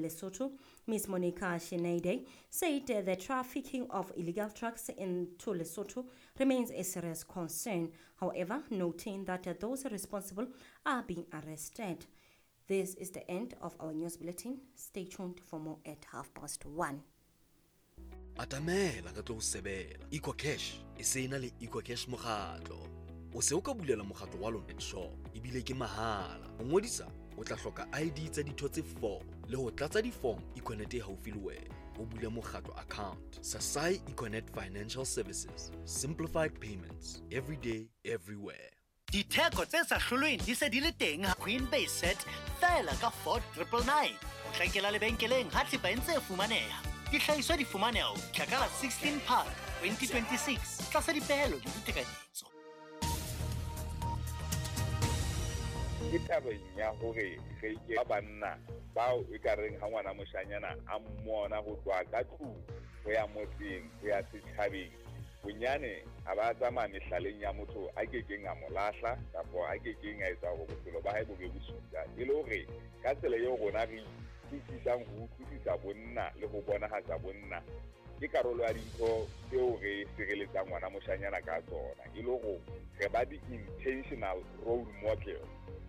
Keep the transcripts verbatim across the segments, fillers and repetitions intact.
Lesotho, Miz Monica Shinede, said the trafficking of illegal drugs into Lesotho remains a serious concern. However, noting that those responsible are being arrested. This is the end of our news bulletin. Stay tuned for more at half past one. Atamela ka tlo sebela. EcoCash e se ena le EcoCash mokgatlo. O se o ka bulela mokgatlo wa lona shop ebile ke mahala. Ho ngodisa o tla hloka I D tsa ditho tse four le ho tlatsa di-form Econet e haufi le wena. O bule mokgatlo account. Sasai Econet Financial Services. Simplified payments every day, everywhere. Ditheko tse sa hlolweng di se di le teng ha Queen Base Set fela ka four triple nine. Potlakela lebenkeleng ha thepa e ntse e fumaneha. Dihlahiswa di fumaneha ho fihla ka la sixteen Phato twenty twenty-six tlasa dipehelo le ditekanyetso. Ke tabeng ya hore re ke ba banna bao e ka reng ha ngwana moshanyana a mmona ho tloha ka tlung ho ya motseng ho ya setjhabeng, bonyane a ba tsamaya mehlaleng ya motho a kekeng a mo lahla kapa a kekeng a etsa hore bophelo ba hae bo be bosula. E le hore ka tsela eo rona re utlwisisang ho utlwisisa bonna le ho bonahatsa bonna ke karolo ya dintho tseo re sireletsang ngwana moshanyana ka tsona. E le hore re ba di-intentional role model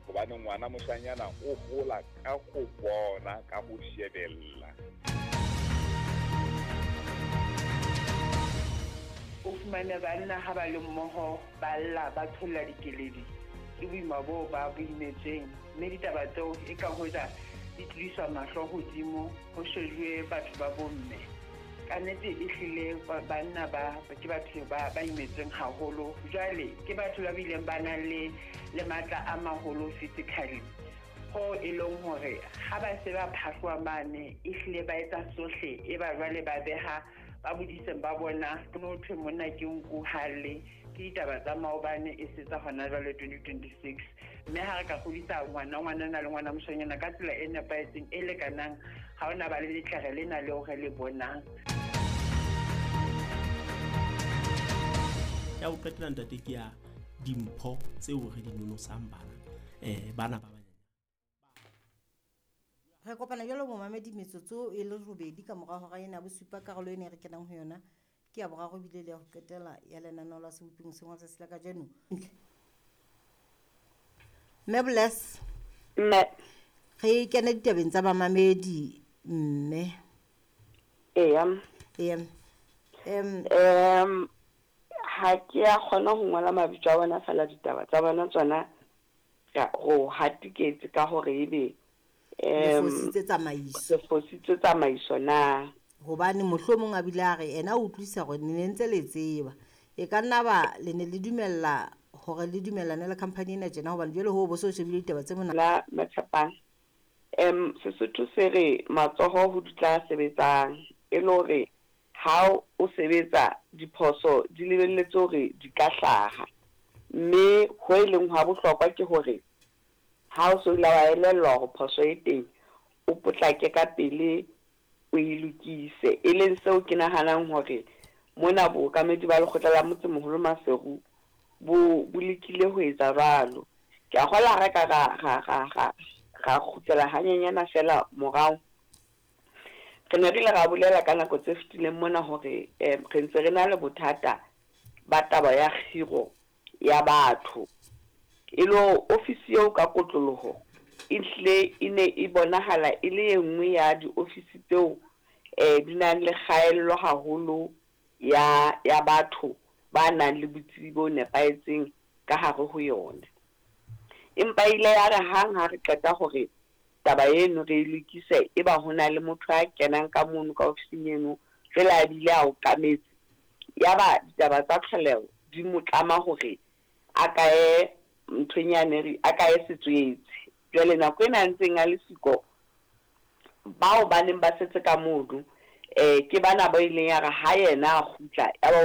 hobane ngwana moshanyana o hola ka ho bona, ka ho shebella. O fumane banna ha ba le mmoho ba lla ba tholla dikeledi ke boima boo ba bo imetsweng, mme ditaba tseo e ka hoja di tlodiswa mahlo hodimo ho shejuwe batho ba bomme. Ka nnete e hlile banna ba ke batho ba ba imetsweng haholo. Jwale ke batho ba bileng ba nang le le matla a maholo physically, ho e leng hore ha ba se ba phahloa mane e hlile ba etsa sohle e ba jwale ba beha ba bodiseng ba bona no thwe monna ke nku halle ke ditaba tsa maobane e setsa hona jwale twenty twenty-six. Mme ha re ka kgodisa ngwana ngwanana le ngwana moshanyana ka tsela e nepahetseng e lekanang, ha ona ba le letlere lena leo re le bonang. Ya ho qetela ntate ke ya dimpho tseo re di nonosang bana eh bana ba banyane. Re kopana jalo momamedi metsotso e le robedi ka mora hora ena bosupa. Karolo ena e re kenang ho yona ke ya boraro ebile le ya ho qetela ya lenaneo la Seboping se ngwa tsatsi la kajeno. Mme Bless. Mme. Re kene ditabeng tsa bamamedi mme. Eya. Eya. Em em ha ke a kgona ho ngola mabitso a bona fela ditaba tsa bona tsona go hatiketse ka hore ebe le fositse tsamaiso. Se fositse tsamaiso na. Hobane mohlomong a bile a re ena o utlwisa hore ne ntse le tseba. E ka nna ba le ne le dumella hore le dumellane le company ena tjena hobane jwale ho bo so shebile ditaba tse mona. La Matshapang. Em Sesotho se re matsoho ho dutla sebetsang e le hore ha o sebetsa diphoso di lebelletse hore di ka hlaha. Mme ho e leng hwa bohlokwa ke hore ha o so ile wa elellwa hore phoso e teng, o potlake ka pele o e lokise. E leng seo ke nahanang hore mona bookamedi ba lekgotla la motsemoholo Maseru bo bo lekile ho etsa jwalo. Ke a kgolwa ha re ka ra ra ra ra ra kgutlela hanyenyana fela morao. Re ne re ile ra bolela ka nako tse fetileng mona hore eh re ntse re na le bothata ba taba ya kgiro ya batho. E lo ofisi eo ka kotloloho e hle e ne e bonahala e le e nngwe ya diofisi tseo eh di nang le kgaello haholo ya ya batho ba nang le botsebi bo nepahetseng ka hare ho yona. Empa ile ya re hang ha re qeta hore taba eno re e lokise, e ba hona le motho a kenang ka mono ka ofising eno jwale a bile a okametse, ya ba ditaba tsa tlholeho di mo tlama hore a kae nthong yane re a kae setswetse. Jwale nako ena a ntseng a le siko, bao ba neng ba setse ka mono eh ke bana ba ileng ya re ha yena a kgutla ya ba